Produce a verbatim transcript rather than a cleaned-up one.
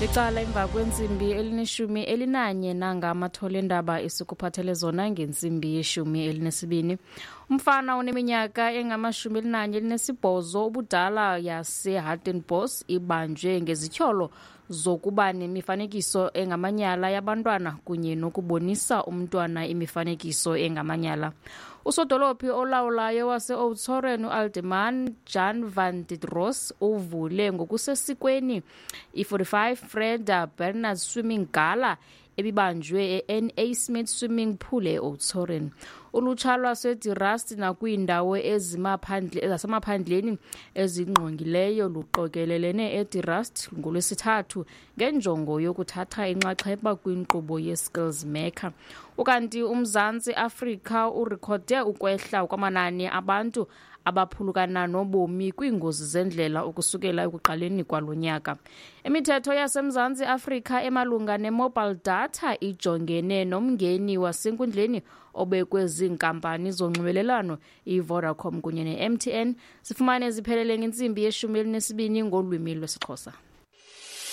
Licala emva kwentsimbi elineshumi elinanye nangamathole endaba esikuphathele zona ngentsimbi yeshumi elinesibini. Umfana oneminyaka engamashumi elinanye elinesibhozo ubudala yaseHartenbos ibanjwe ngezityholo zokuba nemifanekiso engamanyala yabantwana kunye nokubonisa umntwana imifanekiso engamanyala. Usodolophi olawulayo wase-Oudtshoorn uAlderman Jan van der Roos uvule ngokusesikweni i-forty-five Freda Bernard Swimming Gala ebibanjwe e-N A Smith Swimming Pool e-Oudtshoorn. Ulutsha lwaseDe Rust nakwiindawo ezimaphandle zasemaphandleni ezingqongileyo luqokelelene eDe Rust ngoLwesithathu ngenjongo yokuthatha inxaxheba kwinkqubo ye-Skills Maker. Ukanti uMzantsi Afrika urekhode ukwehla kwamanani abantu abaphulukana nobomi kwiingozi zendlela ukusukela ekuqaleni kwalo nyaka. Imithetho yaseMzantsi Afrika emalunga ne-mobile data ijongene nomngeni wasenkundleni obekwe ziinkampani zonxibelelwano iVodacom kunye ne-M T N. Sifumane ziphelele ngentsimbi yeshumi elinesibini ngolwimi lwesiXhosa.